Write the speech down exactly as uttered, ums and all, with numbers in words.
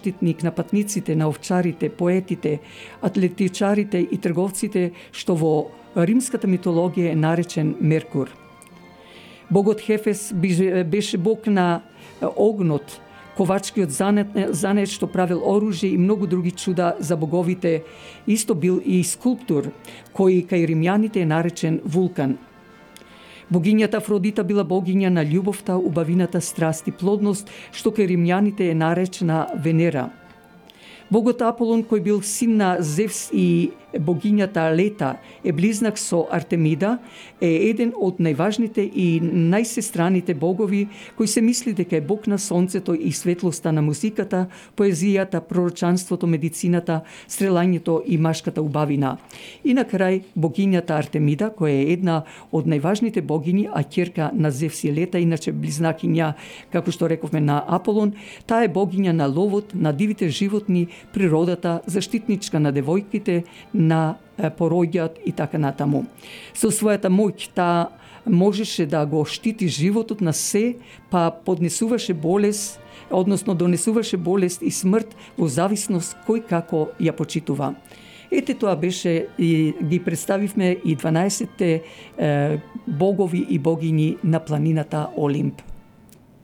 заштитник на патниците, на овчарите, поетите, атлетичарите и трговците, што во римската митологија е наречен Меркур. Богот Хефес беше бог на огнот, ковачкиот занет, занет што правил оружје и многу други чуда за боговите. Исто бил и скулптор, кој кај римјаните е наречен Вулкан. Богињата Афродита била богиња на љубовта, убавината, страст и плодност, што кај римјаните е наречена Венера. Богот Аполон, кој бил син на Зевс и богињата Лета, е близнак со Артемида, е еден од најважните и најсестраните богови, кој се мисли дека е бог на сонцето и светлоста на музиката, поезијата, пророчанството, медицината, стрелањето и машката убавина. И на крај богињата Артемида, која е една од најважните богини, а ќерка на Зевс и Лета, иначе близнакиња, како што рековме, на Аполон, таа е богиња на ловот, на дивите животни, природата, заштитничка на девојките, на пороѓаат и така натаму. Со својата моќ таа можеше да го штити животот на се, па поднесуваше болест, односно донесуваше болест и смрт во зависност кој како ја почитува. Ете, тоа беше и ги представивме и дванаесетте е, богови и богини на планината Олимп.